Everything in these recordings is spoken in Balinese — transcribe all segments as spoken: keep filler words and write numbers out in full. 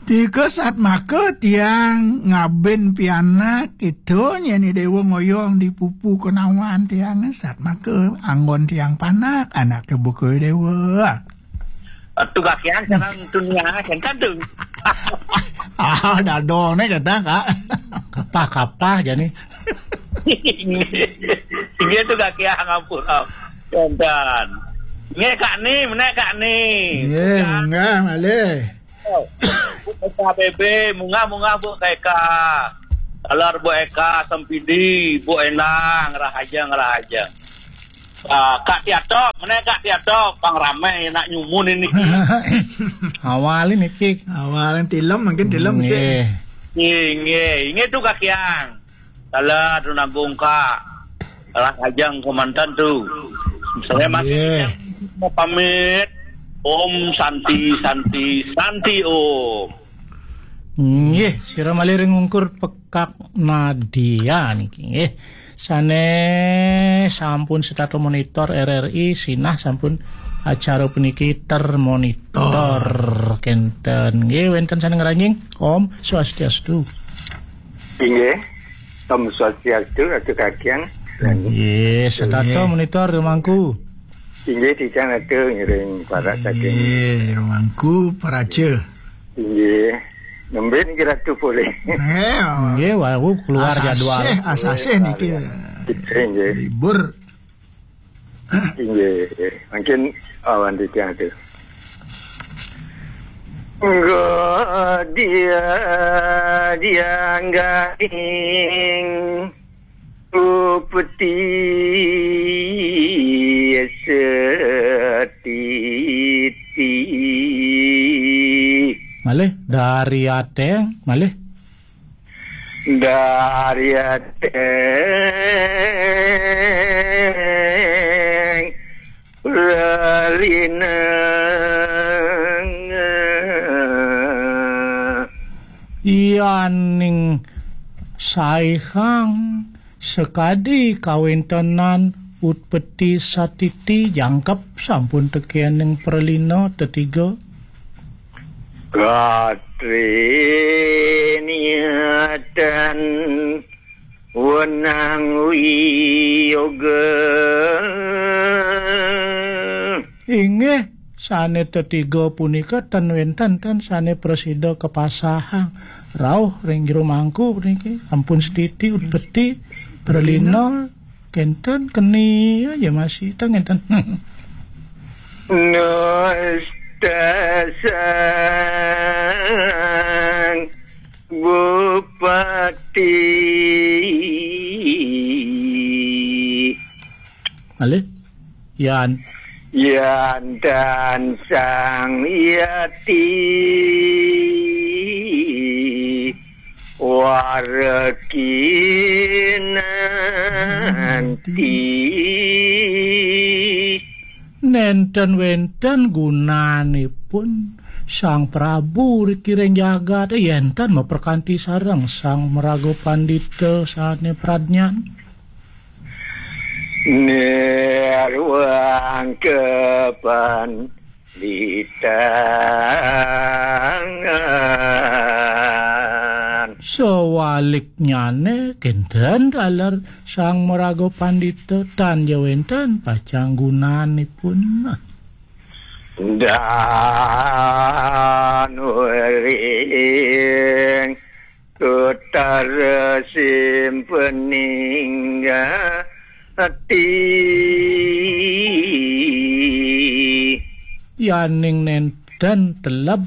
Tika satmaka tiang ngabin pianak, ita nyeni dewa ngoyong di pupu kenawan tiang, satmaka anggon tiang panak, anak buka dewa. Atu gakian sareng dunia, kan tu. Ah, dadong ni kata, Kak. Kapah-kapah jani. Inggih tu gakian, ampun. Kan. Inggih, Kak Ni, menek, Kak Ni. Inggih, munggah malih. Bu Eka B B, munggah-munggah Bu Eka. Taler Bu Eka, Sempidi, Bu Endang, rahaja, rahaja. Ah, Kak Tiatok, menek Kak Tiatok, pang ramai nak nyumun ini. Awal ini, Kik. Awal tilem, mungkin tilem, Cik. Nggih. Nggih, nggih. Inggih tu Kak Kiang. Salah tu nanggung, Kak. Salah ajang kemantan tu. Saya masih mau pamit. Om Santi, Santi, Santi Om. Nggih, sira malih ring ungkur Pekak Nadia niki nggih. Sane sampun setata monitor R R I, sinah sampun acara puniki termonitor kenten. Nggih, wenten sane ngranjing. Om Swastiastu. Inggih. Om Swastiastu, Ratu Kakiang. Nggih, setata monitor, Rumangku. Inggih, titiang Ratu ngiring para saking. Nggih, Rumangku, Paraja. Inggih. Nembe niki Ratu polih. Nggih, wau keluar jadwal. Asasih, asasih niki. Inggih. Libur. Inggih, mungkin awan titiang tu. Nggo dia dianggaing upeti setiti. Malih dari ateng, malih. Dari ateng relineng. Yaning saihang sakadi kawentenan utpeti satiti jangkep sampun tekening pralina tetiga. Gatre niatan wenang wiyoga. Inggih, sane tetiga punika ten wenten ten sane prasida kapasahang rauh ring jero mangku puniki. Ampun setiti utpeti pralina. Kenten keni aja masih tang ngenten. Nustasang Bupati. Malih? Yan. Yan dan Sang Yati. Warekinanti. Nenten wenten gunanipun Sang Prabu rikiring jagat, yenten maperkanti sareng Sang Maraga Pandita sane pradnyan. Nirwang kepan di tangan. Sawaliknyane, kenten taler Sang Maraga Pandita tan ja wenten pacang gunanipun. Dan wering Utara simpening ati. Yaning nenten teleb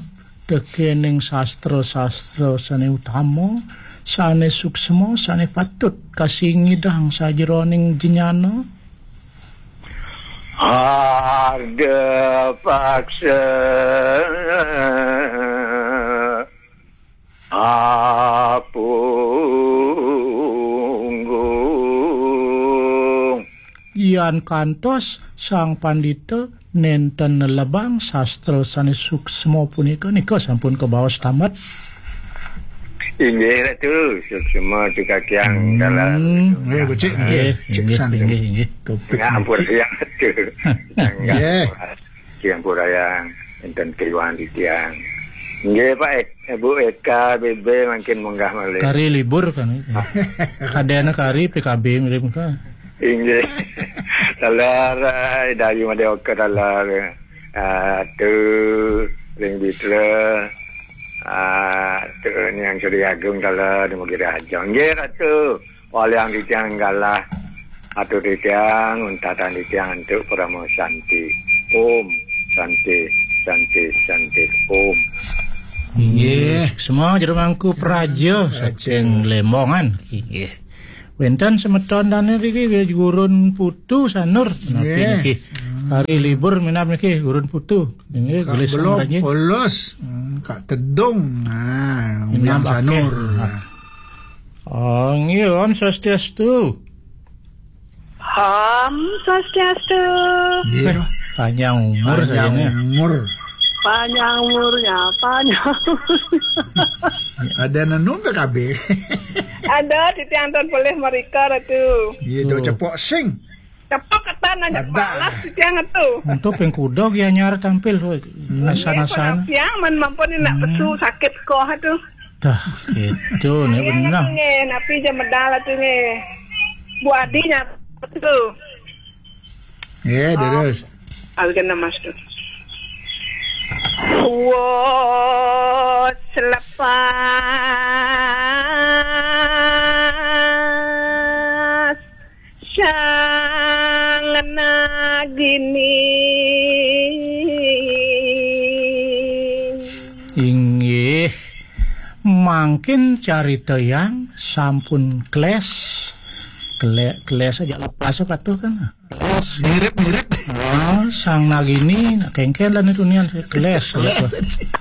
tekening sastra-sastra sane utama, sane suksma, sane patut kasingidang sajeroning jnana. Harda paksa apunggung. Yan kantos Sang Pandita nenten nelebang sastra sane suksma punika, nika sampun kabaos tamat. Inggih, Ratu, suksma tu kakiang. Hmm. Dalam. Nggih, becik, nggih. Nggih, cek inggih, san. Inggih, inggih. Topik niki. Ngampurayang, Ratu. Nggih. Ngampurayang, enten keliwatan titiang. Nggih, Pak Ek-, Bu Eka B B mangkin munggah malih. Kari libur kan. Kadéna kari P K B mirip kan. Inggih. Taler, eh, Dayu Madé Oka taler. Ah, tu ring Bitra. Ah, tu Niang Sri Agung taler di Mugi Raja. Nggih, Ratu. Waliang titiang galah. Atur titiang, untatan titiang antuk Parama Santi. Om Santi, Santi, Santi. Om. Inggih. Semua jero mangku praja saking Lembongan. Inggih. Wénten semeton dané niki nggih, Gurun Putu Sanur. Menawi nggih. Niki hari libur minab niki Gurun Putu. Nggih, Kak gelis Belop, sampun, nggih. Polos. Hmm, Kak Tedung. Nah, Minab Uyan Sanur. Akeh. Oh, nggih, Om Swastiastu. Om Swastiastu. Iya. Eh, panjang umur panjang saja, ya. Umur. Panjang umurnya, panjang. Ada nenung P K B. Ada, titiang tuan boleh mereka, Ratu. Iya, tu. Cepok sing. Cepok ketan aja. Ada. Balas, titiang tu. Untuk pengkuda, dia nyar tampil, hmm. Asan-asan. Tiang men mampun nak pesu sakit koh tu. Dah, itu nih. Iya, benar. Nggih, napi je medal tu nggih. Bu Adi nyar tu. Nggih, terus. Algen nama tu. Wos lepas sang nagini. Inggih, mangkin carita yang sampun kles. Kle-, kles aja lepas patuh kan. Kles. Mirip-mirip. Ah, sang nagini, nak kengken lah nih tunian, kles. Kles. Gitu.